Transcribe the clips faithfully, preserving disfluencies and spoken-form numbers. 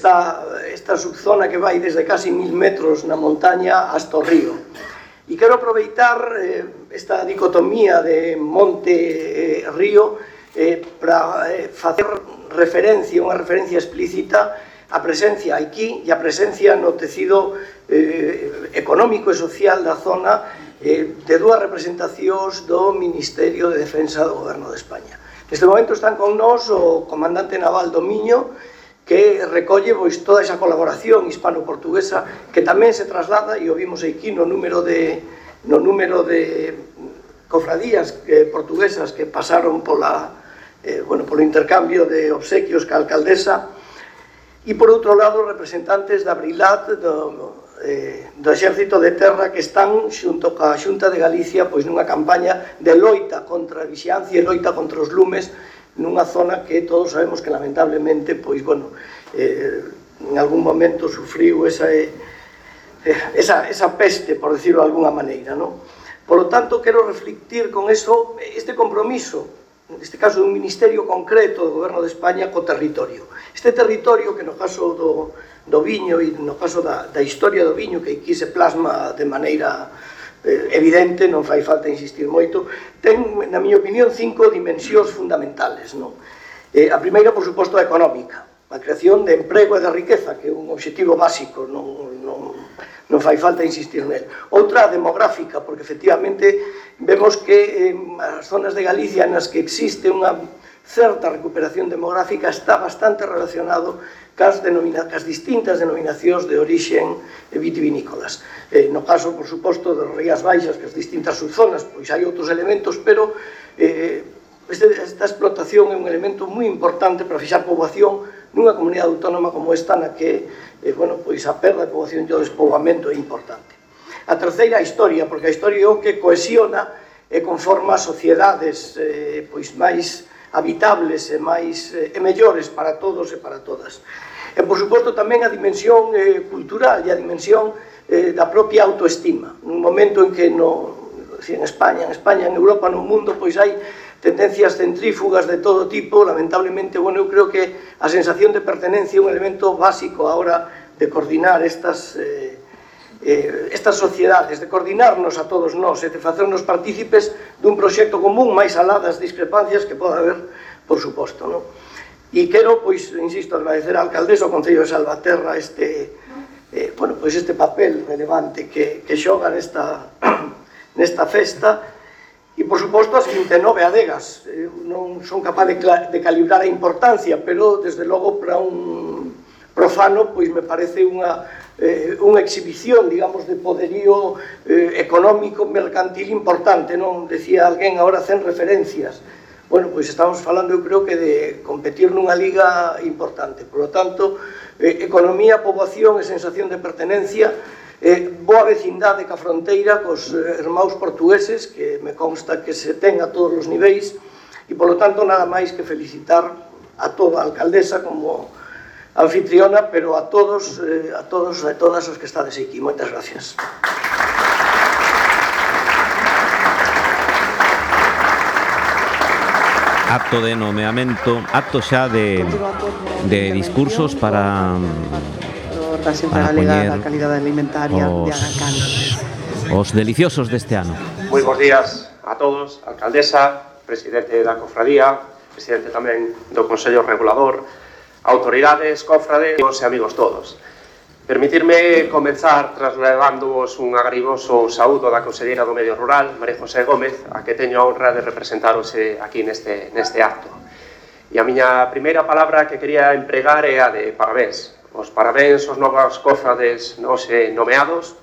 esta, esta subzona que vai desde casi mil metros na montaña hasta o río. E quero aproveitar eh, esta dicotomía de monte-río eh, para eh, facer referencia, unha referencia explícita a presencia aquí e a presencia no tecido eh, económico e social da zona eh, de dúas representacións do Ministerio de Defensa do Goberno de España. Neste momento están con nós o comandante naval do Miño, que recolle pois, toda esa colaboración hispano-portuguesa que tamén se traslada, e o vimos aquí no número de, no número de cofradías eh, portuguesas que pasaron pola, eh, bueno, polo intercambio de obsequios ca alcaldesa. E, por outro lado, representantes da Brilat, do, eh, do Exército de Terra, que están xunto ca Xunta de Galicia pois, nunha campaña de loita contra a vixiancia e loita contra os lumes nunha zona que todos sabemos que, lamentablemente, pois, bueno, eh, en algún momento sufriu esa, eh, esa, esa peste, por decirlo de alguna maneira, non? Por lo tanto, quero reflectir con eso este compromiso, neste caso de un ministerio concreto do Goberno de España co territorio. Este territorio que no caso do, do viño e no caso da, da historia do viño, que aquí se plasma de maneira eh, evidente, non fai falta insistir moito, ten, na miña opinión, cinco dimensións fundamentales, non? Eh, a primeira, por suposto, a económica, a creación de emprego e de riqueza, que é un obxectivo básico, non, non, non fai falta insistir nel. Outra, a demográfica, porque efectivamente vemos que eh, as zonas de Galicia nas que existe unha certa recuperación demográfica está bastante relacionado cas, denomina, cas distintas denominacións de orixen vitivinícolas. Eh, no caso, por suposto, das Rías Baixas, que as distintas subzonas, pois hai outros elementos, pero eh, este, esta explotación é un elemento moi importante para fixar poboación nunha comunidade autónoma como esta, na que eh, bueno, pois a perda de poboación e o despoboamento é importante. A terceira, a historia, porque a historia é o que cohesiona e conforma sociedades eh, pois máis habitables e máis e mellores para todos e para todas. E, por suposto, tamén a dimensión eh, cultural e a dimensión eh, da propia autoestima. Nun momento en que no, en España, en España, en Europa, no mundo, pois hai tendencias centrífugas de todo tipo, lamentablemente, bueno, eu creo que a sensación de pertenencia é un elemento básico a hora de coordinar estas eh, Eh, estas sociedades, de coordinarnos a todos nós e de facernos partícipes dun proxecto común máis alá das discrepancias que pode haber, por suposto, non? E quero, pois, insisto, agradecer á alcaldesa, ao Concello de Salvaterra este, eh, bueno, pois este papel relevante que, que xoga nesta, nesta festa e, por suposto, as vinte e nove adegas. Eu non son capaz de, de calibrar a importancia, pero, desde logo, para un profano, pois me parece unha Eh, unha exhibición, digamos, de poderío eh, económico, mercantil importante, non? Decía alguén agora cen referencias. Bueno, pois estamos falando, eu creo que de competir nunha liga importante. Por lo tanto, eh, economía, poboación e sensación de pertenencia, eh, boa vecindade ca fronteira cos eh, irmãos portugueses, que me consta que se ten a todos os niveis, e, por lo tanto, nada máis que felicitar a toda a alcaldesa como anfitriona, pero a todos, eh, a todos e todas os que estades aquí. Moitas gracias. Acto de nomeamento, acto xa de, de discursos para, para poñer os, os deliciosos deste ano. Moi bons días a todos, alcaldesa, presidente da cofradía, presidente tamén do Consello Regulador, autoridades, cofrades e amigos todos. Permitirme comenzar trasladándoos un agrigoso saúdo da Conselleira do Medio Rural, María José Gómez, a que teño a honra de representaros aquí neste, neste acto. E a miña primeira palabra que quería empregar é a de parabéns. Os parabéns aos novos cofrades nos nomeados,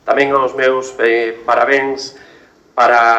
tamén aos meus eh, parabéns para